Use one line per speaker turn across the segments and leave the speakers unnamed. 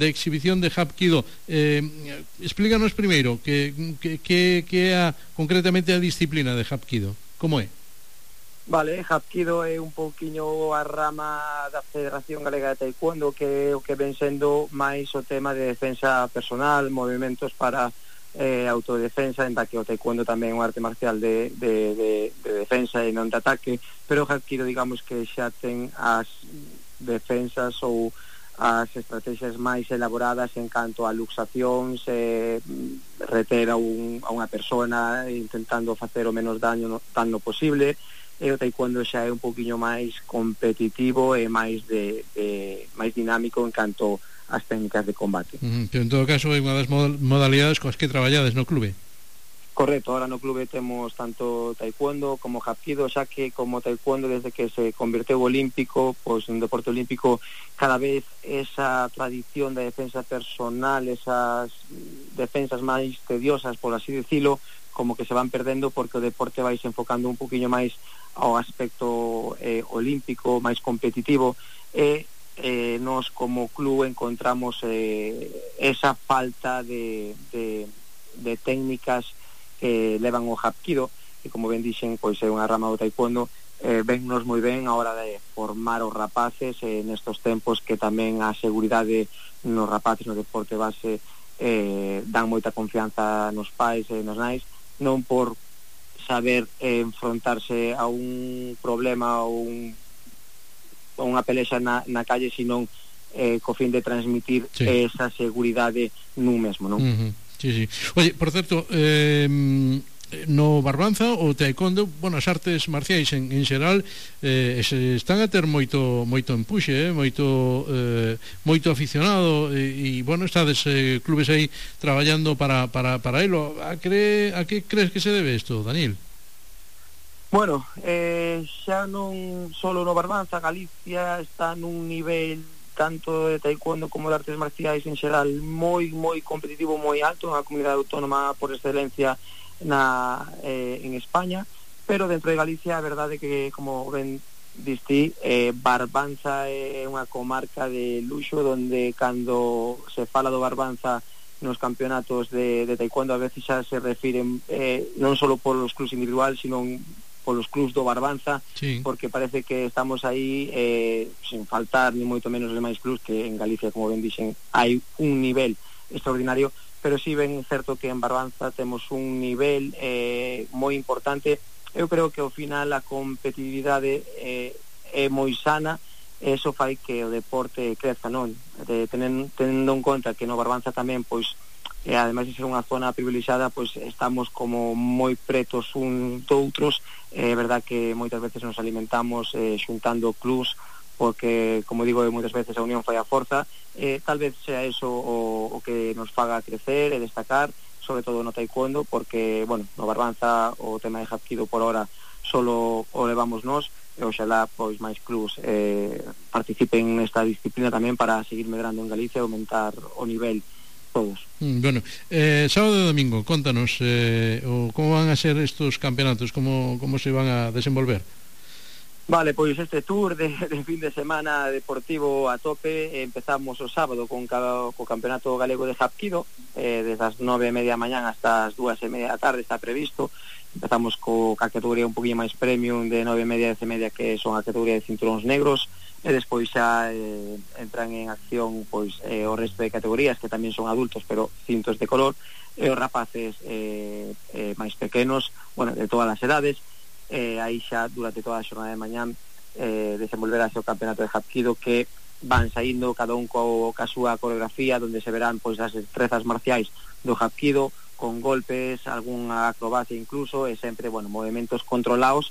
exhibición de Hapkido. Explícanos primeiro que é concretamente a disciplina de Hapkido. Como é?
Vale, Hapkido é un pouquiño a rama da Federación Galega de Taekwondo, que é o que ven sendo máis o tema de defensa personal, movimentos para autodefensa, en que o Taekwondo tamén é un arte marcial de defensa e non de ataque, pero o Hapkido digamos que xa ten as defensas ou as estrategias máis elaboradas en canto a luxacións, reter a unha persona intentando facer o menos daño posible. E o taekwondo xa é un poquinho máis competitivo e máis máis dinámico en canto ás técnicas de combate.
Pero en todo caso é unha das modalidades coas que traballades no clube.
Correcto, ahora no clube temos tanto taekwondo como hapkido, xa que como taekwondo desde que se converteu olímpico, pois un deporte olímpico, cada vez esa tradición de defensa personal, esas defensas máis tediosas, por así decirlo, como que se van perdendo porque o deporte vai se enfocando un poquinho máis ao aspecto olímpico, máis competitivo, e nós como club encontramos esa falta de técnicas que levan o hapkido, que como ben dixen, pois é unha rama do taekwondo. Vennos moi ben a hora de formar os rapaces nestos tempos, que tamén a seguridade nos rapaces no deporte base dan moita confianza nos pais e nos nais, non por saber enfrontarse a un problema ou unha pelexa na calle, sino co fin de transmitir esa seguridade nun mesmo, non?
Sí. Oye, por certo, no Barbanza o taekwondo, as artes marciais en xeral se están a ter moito empuxe, moito aficionado, e estades clubes aí traballando para elo. A que crees que se debe isto, Daniel?
Bueno, xa non solo no Barbanza, Galicia está nun nivel tanto de taekwondo como de artes marciais en xeral moi competitivo, moi alto, unha comunidade autónoma por excelencia en España, pero dentro de Galicia a verdade que, como ben diste, Barbanza é unha comarca de luxo, donde cando se fala do Barbanza nos campeonatos de taekwondo a veces xa se refiren non só polos clubs individuales, sino polos clubs do Barbanza, sí, porque parece que estamos aí sin faltar ni moito menos de máis clubs, que en Galicia, como ben dixen, hai un nivel extraordinario, pero si ben é certo que en Barbanza temos un nivel moi importante. Eu creo que ao final a competitividade é moi sana, e iso fai que o deporte creza, non? Tendo en conta que no Barbanza tamén, pois, ademais de ser unha zona privilexiada, pois estamos como moi pretos uns doutros. É verdad que moitas veces nos alimentamos xuntando clubs, porque, como digo, moitas veces a unión fai a forza. Tal vez sea eso o que nos faga crecer e destacar, sobre todo no taekwondo, porque, no Barbanza o tema de hapkido por ahora solo o levamos nós, e oxalá pois máis clubs participen nesta disciplina tamén para seguir medrando en Galicia e aumentar o nivel todos.
Sábado e domingo, contanos como van a ser estos campeonatos, como se van a desenvolver.
Vale, pois este tour de fin de semana deportivo a tope. Empezamos o sábado co campeonato galego de hapkido, desde as 9:30 da mañán hasta as 2:30 da tarde está previsto. Empezamos ca categoría un poquinho máis premium de 9:30 e 10:30, que son a categoría de cinturóns negros, e despois xa entran en acción pois o resto de categorías, que tamén son adultos pero cintos de color, e os rapaces máis pequenos, de todas as edades. Aí xa durante toda a xornada de mañán desenvolverase o campeonato de hapkido, que van saindo cada un ca súa coreografía, donde se verán pois as destrezas marciais do hapkido, con golpes, algunha acrobacia incluso, e sempre, movimentos controlados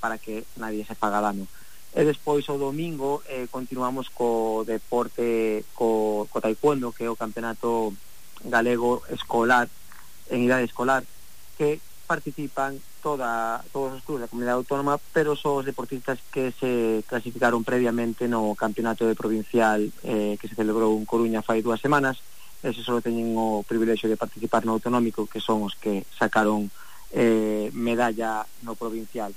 para que nadie se faga dano. E despois o domingo continuamos co deporte, co taekwondo, que é o campeonato galego escolar, en idade escolar, que participan todos os clubes da comunidade autónoma, pero son os deportistas que se clasificaron previamente no campeonato de provincial que se celebrou en Coruña fai 2 semanas. Ese só teñen o privilexio de participar no autonómico, que son os que sacaron medalla no provincial.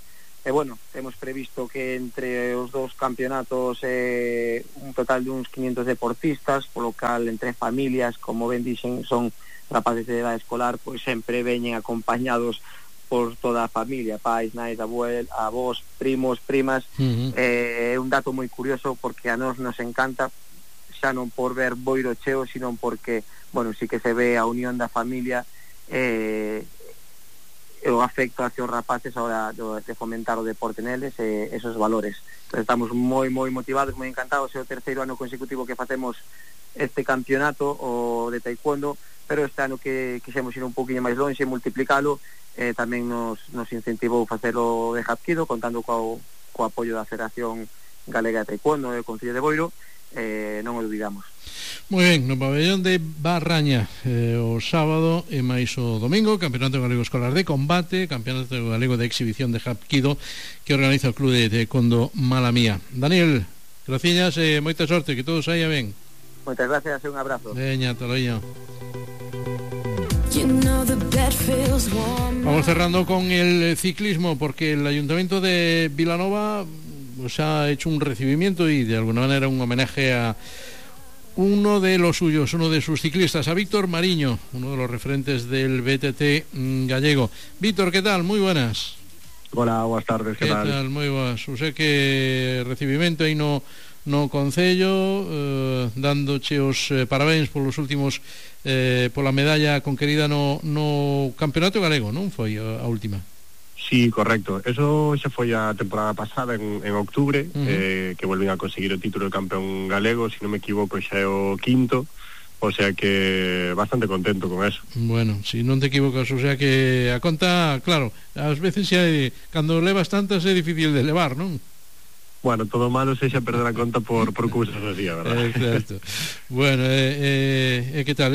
E bueno, temos previsto que entre os dous campeonatos un total de uns 500 deportistas, polo cal entre familias, como ben dixen, son rapaces de edade escolar, pois sempre veñen acompañados por toda a familia, pais, nais, avós, primos, primas. É un dato moi curioso porque a nós nos encanta, xa non por ver boiro cheo, sino porque, bueno, sí que se ve a unión da familia, o afecto hacia os rapaces a hora de fomentar o deporte neles e esos valores. Entonces, estamos moi motivados, moi encantados. É o terceiro ano consecutivo que facemos este campeonato o de taekwondo, pero este ano que quixemos ir un poquinho máis longe e multiplicalo, tamén nos incentivou facelo de Hapkido, contando co apoio da Federación Galega de Taekwondo e o Concello de Boiro. Non o olvidamos.
Moi ben, no pabellón de Barraña o sábado e máis o domingo, Campeonato Galego Escolar de Combate, Campeonato Galego de Exhibición de Hapkido, que organiza o Club de Taekwondo Malamía. Daniel, graciñas e moita sorte, que todo saia ben.
Moitas gracias e un abrazo.
Veña, toloño. Vamos cerrando con el ciclismo, porque el Ayuntamiento de Vilanova ha hecho un recibimiento y de alguna manera un homenaje a uno de los suyos, uno de sus ciclistas, a Víctor Mariño, uno de los referentes del BTT gallego. Víctor, ¿qué tal? Muy buenas.
Hola, buenas tardes, ¿qué tal?
Moi boas. Sei que recibimento aí no Concello, dándoche os parabéns polos últimos pola medalla conquerida no Campeonato Galego, non foi a última?
Sí, correcto. Eso xa foi a temporada pasada en octubre, que volvín a conseguir o título de campeón galego, se non me equivoco xa é o quinto, o sea que bastante contento con eso.
Bueno, si non te equivocas, o sea que a conta, claro, ás veces xa cando levas tantas é difícil de levar, non?
Bueno, todo malo sexa perder a conta por cousas así, a verdad.
Exacto. Bueno, que tal?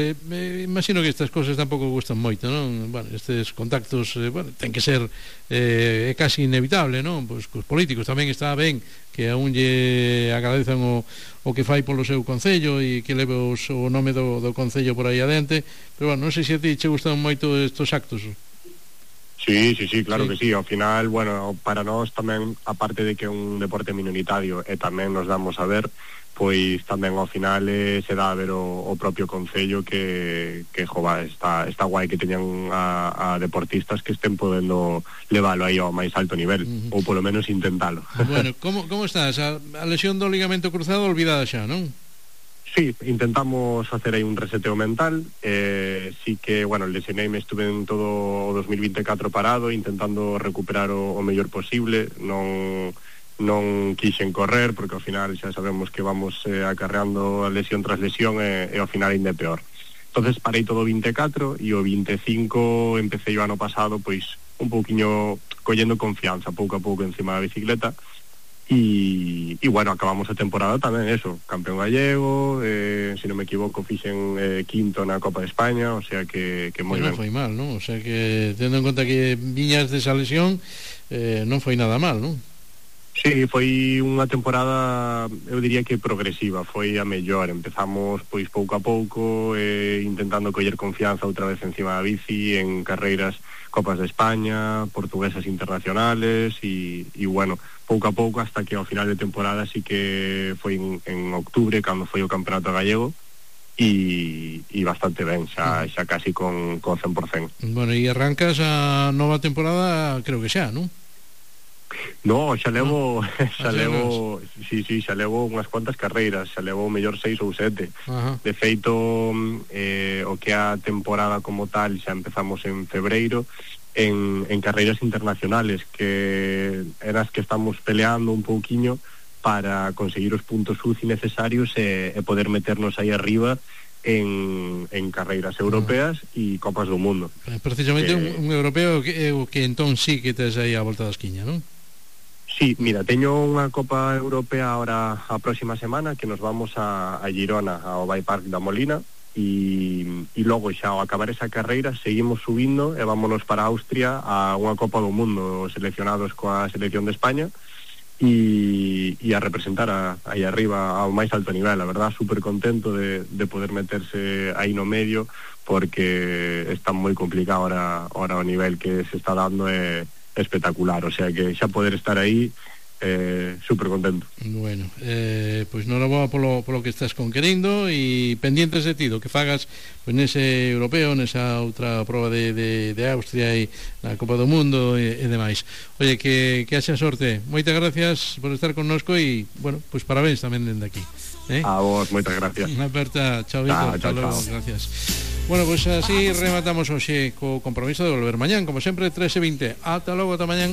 Imagino que estas cosas tampouco gustan moito, non? Bueno, estes contactos, bueno, ten que ser casi inevitable, non? Pois cos políticos tamén está ben que a un lle agradezan o que fai polo seu concello e que leve o nome do concello por aí adente, pero bueno, non sei se a ti che gustan moito estos actos.
Sí, claro que sí. Ao final, bueno, para nós tamén, aparte de que é un deporte minoritario e tamén nos damos a ver, pois tamén ao final se dá a ver o propio concello que jova, está guai que teñan a deportistas que estén podendo leválo aí ao máis alto nivel, ou polo menos intentalo.
Bueno, como estás? A lesión do ligamento cruzado olvidada xa, non?
Sí, intentamos facer aí un reseteo mental, sí que, bueno, lesioneime, estuve en todo o 2024 parado, intentando recuperar o mellor posible, non quixen correr, porque ao final xa sabemos que vamos acarreando a lesión tras lesión e ao final ainda é peor. Entonces parei todo o 24 e o 25 empecé o ano pasado, pois, un pouquiño collendo confianza, pouco a pouco encima da bicicleta, y bueno, acabamos a temporada tamén eso, campeón gallego, se non me equivoco fixen quinto na Copa de España, o sea que moi ben.
Non foi mal, non? O sea que tendo en conta que viñas desa lesión, non foi nada mal, non?
Sí, foi unha temporada, eu diría que progresiva, foi a mellor. Empezamos pois pouco a pouco, intentando coller confianza outra vez encima da bici, en carreiras Copas de España, portuguesas internacionales, e bueno, pouco a pouco hasta que ao final de temporada sí que foi en octubre cando foi o Campeonato Gallego, e bastante ben, xa casi con 100%.
Bueno, e arrancas a nova temporada, creo que xa, non?
No, xa levo unhas cuantas carreiras, xa levo mellor 6 ou 7. De feito, o que a temporada como tal xa empezamos en febreiro en carreiras internacionales, que eran as que estamos peleando un pouquiño para conseguir os puntos UCI necesarios e poder meternos aí arriba en carreiras europeas e Copas do Mundo.
Precisamente un europeo que entón sí que tes aí a volta da esquiña, non?
Sí, mira, teño unha Copa Europea ahora a próxima semana, que nos vamos a Girona, ao Bike Park da Molina, e logo xa ao acabar esa carreira seguimos subindo e vámonos para Austria a unha Copa do Mundo, seleccionados coa selección de España, e a representar aí arriba ao máis alto nivel. A verdad, super contento de poder meterse aí no medio, porque está moi complicado ahora o nivel que se está dando, espectacular, o sea que xa poder estar aí super contento.
Bueno, pois noraboa polo que estás conquerindo e pendientes de ti do que fagas pois nese europeo, nesa outra proba de Austria e na Copa do Mundo e demais. Oye, que haxa sorte. Moitas gracias por estar connosco e, bueno, pois parabéns tamén dende aquí.
A vos, moitas gracias.
Unha aperta, chao Víctor,
chao.
Gracias. Bueno, pois así rematamos hoxe co compromiso de volver mañán, como sempre, 13:20. Ata logo, ata mañán.